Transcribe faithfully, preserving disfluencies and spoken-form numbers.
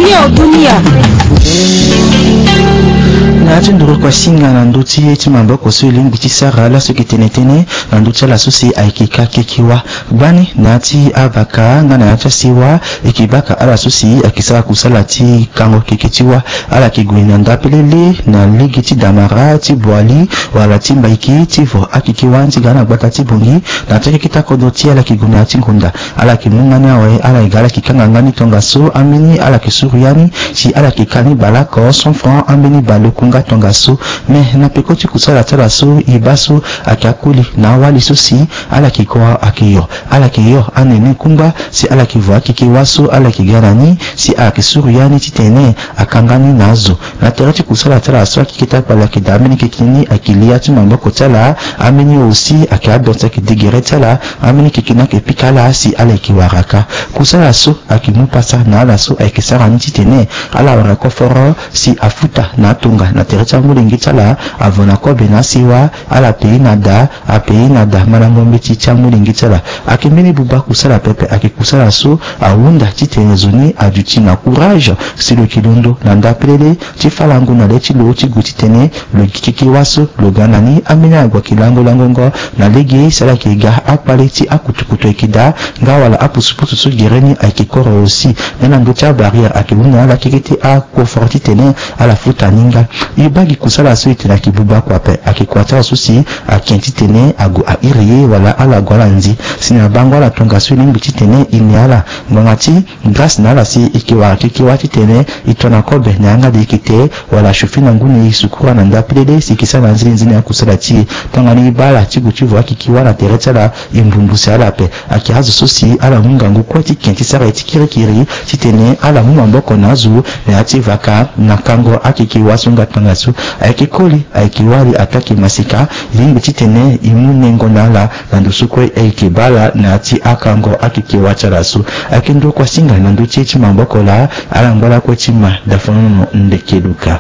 Dunia. Na ya ti nduru kua singa na ndö ti ye ti maboko so e lingbi ti sara laso e yeke tene tënë na ndö ti ala so si ayeke ka keke wâ. Gbani na ya ti avaka nga na ya ti asewa, e yeke baka ala so si ayeke sara kusala ti kango keke ti wâ. Ala yeke gue na ndapelele na lege ti damara, ti boali, wala ti mbaiki, ti vo akeke wâ ni ti ga na gbata ti bongi. Na ya ti akeke ti akodro ti e, ala yeke gue na ya ti ngonda. Ala yeke mu nga ni awe, ala yeke ga, ala yeke kanga nga ni tongaso. Ambeni ala yeke suru ya ni si ala yeke ka ni baleoko cent francs, ambeni baleoku nga tongaso. Me na peko ti kusala ti ala so, e baa so ayeke akoli na awali so si ala yeke ko, ayeke yo. Ala yeke yo anene kungba si ala yeke vo akeke wâ so ala yeke ga na ni, si ala yeke suru ya ni titene aka nga ni na azo. Na tere ti kusala ti ala so, akeke ti akpale ayeke daa ambeni keke ni ayeke li ya ti maboko ti ala. Ambeni aussi ayeke abe ti ayeke degere ti ala. Ambeni keke ni ayeke pika ala si ala yeke wara ka. Kusala so ayeke mu pasa na ala so ayeke sara ni titene ala wara koforo si afuta na atonga na tere ti amolenge ti ala, avo na kobe na asewa, ala pei na da, apei na da malango mbeti ti amolenge ti ala. Ayeke mbeni buba kusala pepe, ayeke kusala so ahunda titene zo ni aduti na courage si lo yeke londo na ndapelele ti falango na le ti lo ti gue titene lo gi keke wâ so lo ga na ni. Ambeni ague ayeke lango langongo na lege si ala yeke ga akpale ti akutukutu ayeke daa, nga wala apusupusu so gere ni ayeke koro aussi. Nga na ndö ti abarrière ayeke hunda na ala keke ti akoforo titene ala futa ni nga. E baa gi kusala so e tene ayeke buba kua ape, ayeke kua ti ala so si ake titene ague a iri ye wala ala gue ala nzi. Si na bango ala tongaso e lingbi titene e ne ala ngbanga ti grâce na ala si e yeke wara keke wâ titene e to na kobe na yanga de e yeke te, wala chauffer na ngu na e sukura na ndapelele si e yeke sara na nzene nzene akusala ti e. Tongana e baa ala ti gue ti vo akeke wâ na tere ti ala, e mbumbuse ala ape. Ayeke azo so si ala mu ngangu kue ti ke ti sara ye ti kirikiri titene ala mu maboko na azo na ya ti vaka na kango akeke wâ so nga tongaso. Ayeke koli, ayeke wali, ataa ayeke maseka, e lingbi titene e mu nengo na ala na ndo so kue e yeke baa ala na ya ti akango akeke wâ ti ala so. Ayeke ndokua singa na ndö ti ye ti maboko laa. Ala ngba lakue ti ma dafanono ndeke luka.